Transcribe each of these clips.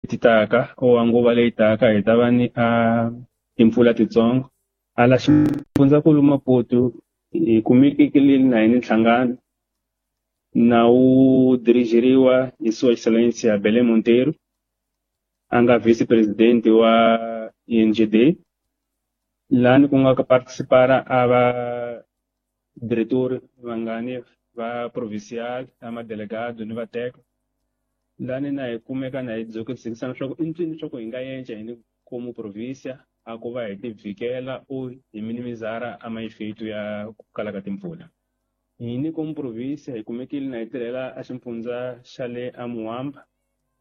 Leti taka or nguva leyi taka hi ta va ni a timpfula titsongo. Hala xifundzankulu Maputo hi kumekile na hi ni nhlangano na wu dirigeriwa hi Sua Excelência Belém Monteiro, a nga vice-president wa INGD, lani ku nga ka participara a va diretor vangani va provincial, a madelegado ni vateka. Lani na hi kumeka na hi dzukisana swa ku i ncini swa ku hi nga yenca hi ni como província a ku va hi ti vhikela o hi minimizara a maefeito ya ku kala ka timpfula. Hi ni como província hi kumekile na hi tirhela a xifundza xa le a Muamba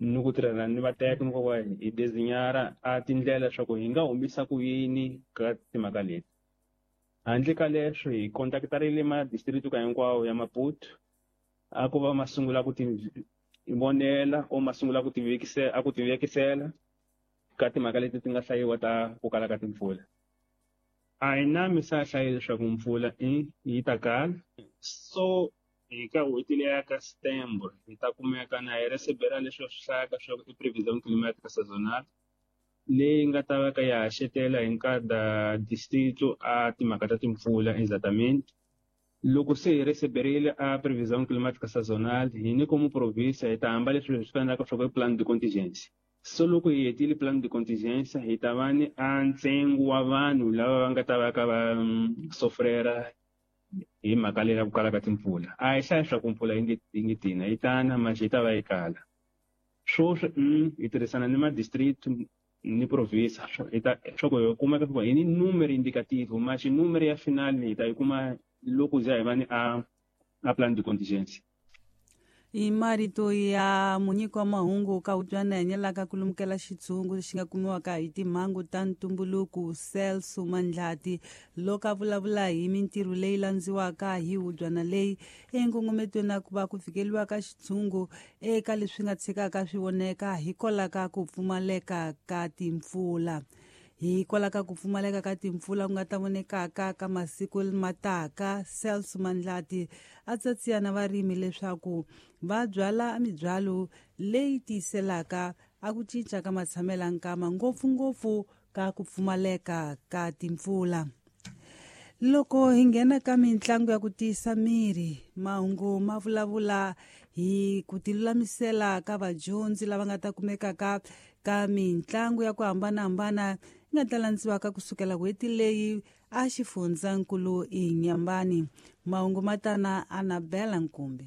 ni ku tirhela ni vateka ni ku va hi designar a tindlela swa ku hi nga humisa ku yini ka timhaka leti. Handle ka leswo hi contactarile ma district ka hinkwawo ya Maputo a ku va ma sungula ku ti vonela o ma sungula ku tivekisela a ku tivekisela ka timhaka leti ti nga hlayiwa ta ku kala ka timpfula. A hi na mi sa hlayi leswaku mpfula i yi ta kala. So hi ka n'hweti leya ka September hi ta kumeka na hi recebera leswi va swi hlayaka swa ku i prevision climatica sazonal leyi nga ta va ka ya haxetela hi nkada distrito a timhaka ta timpfula exatamente. Loko se hi receberile a prevision climatica sazonal hi ni como província hi ta hamba leswi hi swi vitanaka swa ku i plan de contingencia. So loko hi hetile plan de contingencia hi ta va ni a ntsengo wa vanhu lava va nga ta va ka va sofrera hi mhaka leyi ya ku kala ka timpfula. A hi hlayi swa ku mpfula yi nge tina yi tana manje yi ta va yi kala. Swoswi hi tirhisana ni ma district ni province hi ta swa ku hi kumeka ku hi ni numero indicativo manje numero ya final hi ta yi kuma loko za hi va ni a plan de contingencia. I marito ya munyiki wa mahungu ka utwana hanyelaka ku lumukela xitshungu lexi nga kumiwaka hi timhangu ta ntumbuluko Celso Mandlati loko a vulavula hi mintirho leyi landziwaka hi hubyana leyi enkongometweni na ku va ku fikeliwa ka xitshungu eka leswi nga tshikaka swi voneka hikwalaho ka ku pfumaleka ka timpfula. Hikwalaho ka ku pfumaleka ka timpfula ku nga ta vonekaka ka masiku mataka, Celso Mandlati a tsatsiya na varimi leswaku va byala mibyalo leyi tiyiselaka a ku cinca ka matshamelo nkama ngopfungopfu ka ku pfumaleka ka timpfula. Loko hi nghena ka mitlangu ya ku tiyisa miri, mahungu ma vulavula hi ku tilulamisela ka vadyondzi lava nga ta kumekaka ka mitlangu ya ku hambanahambana yi nga ta landziwaka kusukela n'hweti leyi a xifundzankulu Inhambane. Mahungu ma tana Annabella Nkumbi.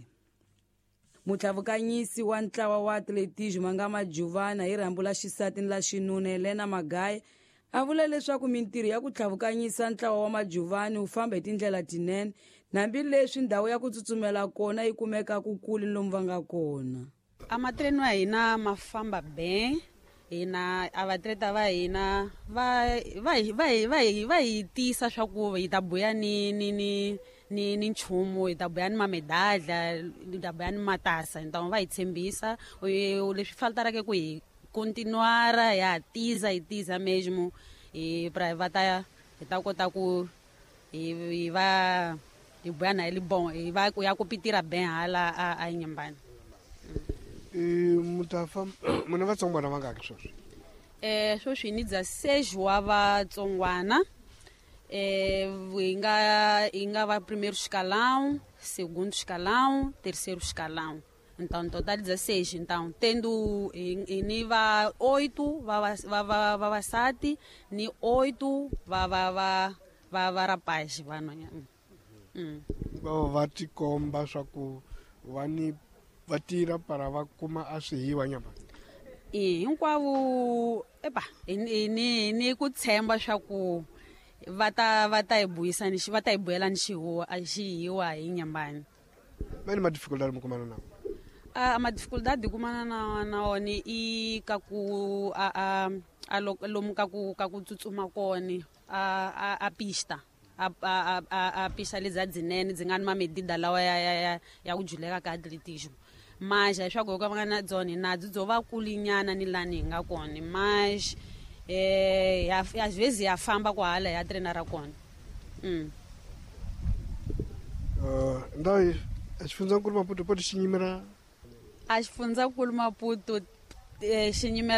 Mutlhavukanyisi wa ntlawa wa atletismo nga Majuvana hi rhambu la xisati ni la xinuna Helena Magaye a vula leswaku mintirho ya ku tlhavukanyisa ntlawa wa Majuvani wu famba hi tindlela tinene hambileswi ndhawu ya ku tsutsumela kona yi kumeka ku kule lomu va nga kona. A matreno ya hina ma famba ben, hina a vatleta va hina va hi tiyisa swa ku hi ta buya ni ni ni ni ni nchumu, hi ta buya ni mamedadla, hi ta buya ni matasa, hi ta va hi tshembisa leswi faltaraka ku hi continuara ya tiza hi tiza mesmo hi pra va ta hi ta kota ku hi va hi buya na hi bon hi va ku ya ku pitira ben hala a Inhambane. Mutafa muna vatsongwana vangaki sweswi? Sweswi ni dza seis wa vatsongwana. Hi nga va primeiro escalão, segundo escalão, terceiro escalão. Então, no total 16. Então, tendo ni va 8 va vavasati ni 8 va rapaz vanhwanyana. Va tikomba swa ku va ni va tirha para va kuma a swihiwa nyama. Hinkwavo epa ni ku tshemba swa ku va ta hi buyisa ni va ta hi buyela ni xihuwa a xihiwa hi Inhambane. Mani ma dificuldade mo kumana na? A ma dificuldade kumana na wona i ka ku a lomu ka ku tsutsuma kona a pista. A pista leti dzinene dzi nga ni mamedida lawa ya ku juleka ka atletismo. Mas leswaku hi ka va nga na byona na byi byo va kulinyana ni lani hi nga kona. Mas às vezes ya famba kwahala ya treina ra kona. Ndawu a xifundzankulu Maputo poto xi nyimela? A xifundzankulu Maputo xi nyimela